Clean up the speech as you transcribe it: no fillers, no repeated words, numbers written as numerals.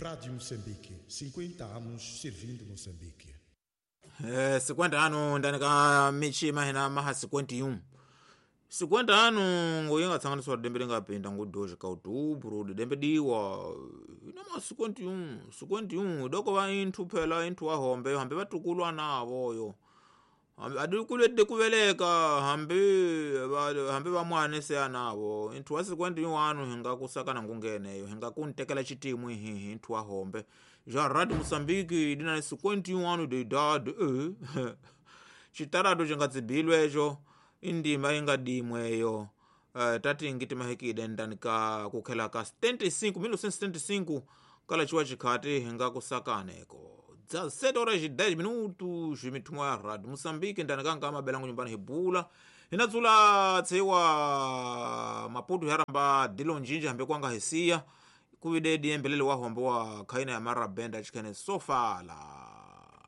Rádio Moçambique, 50 anos servindo Moçambique. 50 anu ndani ka michima hina maha 51 50 anu ngoyenga tsanganiswa dembe lingapinda ngo-2 ka outubro dembe diwa ina ma 51 51 doko va inthu phela inthu wa hombe hambi vatukulwa navo yo adikulwedde kuveleka hambi hambi vamwane se anavo inthu wa 51 anu hinga kusakana ngungeneyo hinga kuntekela chitimu hihi inthu wa hombe ja Radio Moçambique dina 51 anu de idade chitarado chingatsibilwe echo indima ingadimweyo tati ngitimahikide ndani ka kukhela ka 75 1975 kala chiwa chikhati hinga kusakaneko 17 horas e 10 minutos mithumwa ya Radio Moçambique ndani kanga mabelango nyumbani hibula hinatsula tsewa Maputo haramba dilo njinji hambe kwanga hesiya kuvidedi embelele wa hombe wa khaina ya marabenda chikhene sofala.